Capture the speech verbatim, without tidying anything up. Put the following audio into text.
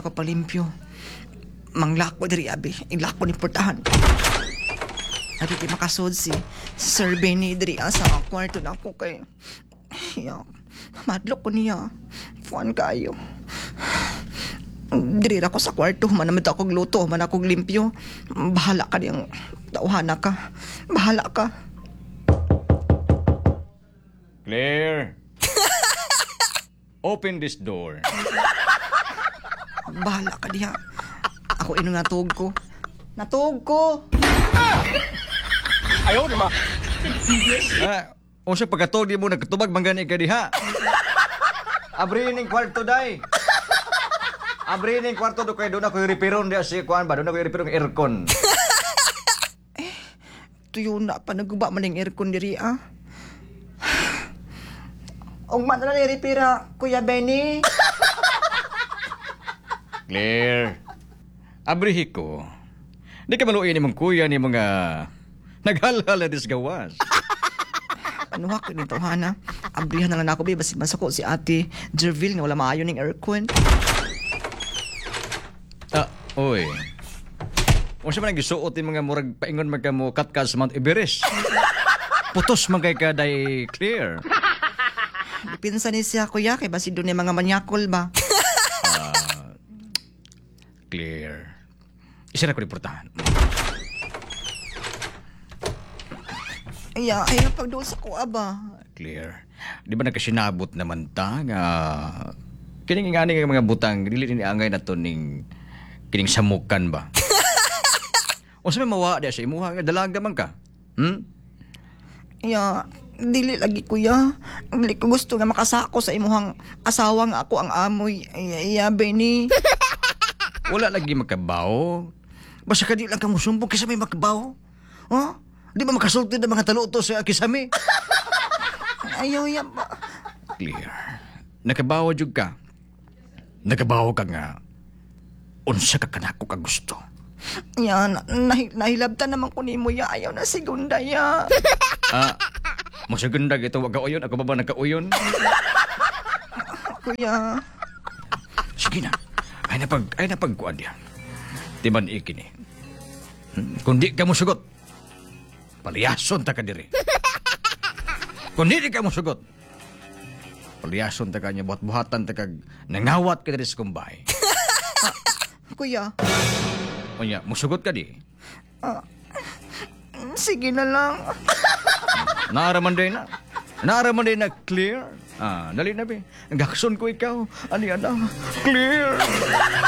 Ako palimpyo. Manglako diri abi. Ilako ni portahan. Abi kay makasud si Sir Benny diri ah, sa kwarto na ako kay ya, madlok ko niya. Kuan kayo. Diri ra ko sa kwarto, man naman ako luto, man ako limpyo. Bahala ka diyang tawhana ka. Bahala ka. Claire! Open this door. Bahala ka diha. Ako inong natug ko. Natug ko. Ayaw na ma. Ah, unsa pagkatog di mo nagkatubag man gani ka diha. Abri ning kwarto day. Abri ning kwarto do kay doon ako repairон diha si kuan ba doon ako repairong aircon. Tuyo na pa naguba man ning aircon diri ah. Ug man na ni repira, Kuya Benny. Claire. Abrihi ko. Di ka maluoy ni mong kuya ni mga naghalhal na disgawas. Ano ko ni tawhana? Abrihan na lang ako bi basi masuko si Ate Jerville nga wala maayo ning aircon. Ah, oy. Unsa man ang gisuot ni mga murag paingon man ka mo katkat sa Mount Everest. Putos man kay ka day Claire. Pinsa ni siya kuya kay basi doon mga manyakol ba. Claire. Isa na ko reportahan. Iya, ayaw pag doon sa kuha ba. Claire. Di ba nagkasinabot naman ta nga kining ingani nga mga butang dili ni angay na to ning kining samukan ba. Unsa may mawa di sa imuha nga dalaga man ka? Hmm? Iya, dili lagi kuya. Dili ko gusto nga makasako sa imuhang asawa nga ako ang amoy. Iya, iya Benny. Wala lagi makabaw. Basta ka di lang ka musumbong kaysa may makabaw. Huh? Di ba makasulti ng mga taluto sa kisami? Ayaw ya ba. Clear. Nakabaw jud ka. Nakabaw ka nga. Unsa ka kanako ka gusto. Ya, na, nahi, nahilabtan naman ko nimo ya. Ayaw na segunda ya. Ah, masaganda ito wag ka uyon. Ako ba ba nagkauyon? Kuya, Sige na. Ay napag ay napagkuan diya. Timan ikini. Hmm? Kung di ka musugot, paliyason ta ka diri. Kung di ka musugot, paliyason ta ka niya buhat-buhatan ta kag nangawat ka diri sa kumbay. kuya. Unya, musugot ka di. Sige na lang. Naaraman din na. Naaraman din na clear. Ah, dali na be. Gakson ko ikaw. Ani na? Clear.